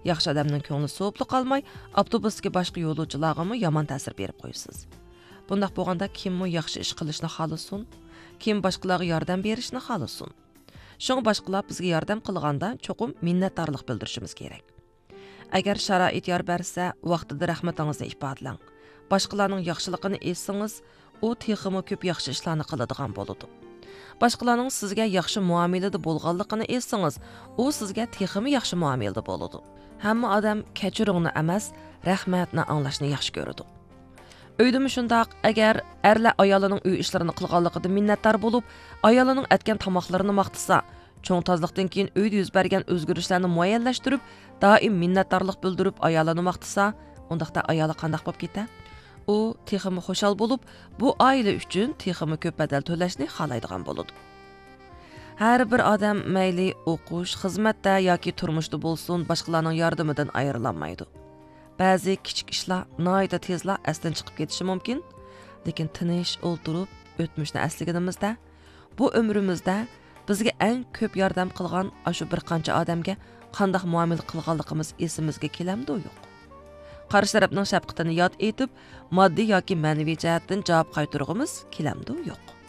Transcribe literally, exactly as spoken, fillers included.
ياخشى ئادەمنىڭ كۆڭلى سوۋۇپلا قالماي، ئاپتوبۇستىكى باشقا يولۇچىلارغىمۇ يامان تەسىر بېرىپ قويىسىز. بۇنداق بولغاندا كىممۇ ياخشى ئىش قىلىشنى خالىسۇن؟ كىم باشقىلارغا ياردەم بېرىشنى خالىسۇن؟ شۇڭا باشقىلار بىزگە ياردەم قىلغاندا چوقۇم مىننەتدارلىق بىلدۈرۈشىمىز كېرەك. ئەگەر شارائىت يار بەرسە، ۋاقتىدا رەھمىتىڭىزنى ئىپادىلەڭ. باشقىلارنىڭ ياخشىلىقىنى ئېيتسىڭىز، ئۇ تېخىمۇ كۆپ ياخشى ئىشلارنى قىلىدىغان بولىدۇ. باشقىلارنىڭ سىزگە ياخشى مۇئامىلىدە بولغانلىقىنى ئېيتسىڭىز، ئۇ سىزگە تېخىمۇ ياخشى مۇئامىلىدە بولىدۇ. ھەممە ئادەم كەچۈرۈڭنى ئەمەس، رەھمەتنى ئاڭلاشنى ياخشى كۆرىدۇ. ئۆيدىمۇ شۇنداق، ئەگەر ئەرلەر ئايالىنىڭ ئۆي ئىشلىرىنى قىلغانلىقىدا مىننەتدار بولۇپ، ئايالىنىڭ ئەتكەن تاماقلىرىنى ماختىسا، چوڭ تازىلىقتىن كېيىن ئۆيدە يۈز بەرگەن ئۆزگىرىشلەرنى مۇئەييەنلەشتۈرۈپ، دائىم مىننەتدارلىق بىلدۈرۈپ ئايالىنى ماختىسا، ئۇنداقتا ئايالى قانداق بولۇپ كېتە؟ ئۇ تېخىمۇ خۇشال بولۇپ، بۇ ئائىلە ئۈچۈن تېخىمۇ كۆپ بەدەل تۆلەشنى خالايدىغان بولىدۇ. ھەر بىر ئادەم مەيلى ئوقۇش، خىزمەتتە ياكى تۇرمۇشتا بولسۇن، باشقىلارنىڭ ياردىمىدىن ئايرىلالمايدۇ. بەزى كىچىك ئىشلار ناھايىتى تېزلا ئەستىن چىقىپ كېتىشى مۇمكىن، لېكىن تىنچ ئولتۇرۇپ ئۆتمۈشنى ئەسلىگىنىمىزدە، بۇ ئۆمرىمىزدە بىزگە ئەڭ كۆپ ياردەم قىلغان ئاشۇ بىر قانچە ئادەمگە قانداق مۇئامىلە قىلغانلىقىمىز ئېسىمىزگە كېلەمدۇ يوق؟ قارشى تەرەپنىڭ شەپقىتىنى ياد ئېتىپ، ماددىي ياكى مەنىۋى جەھەتتىن جاۋاب قايتۇرغۇمىز كېلەمدۇ يوق؟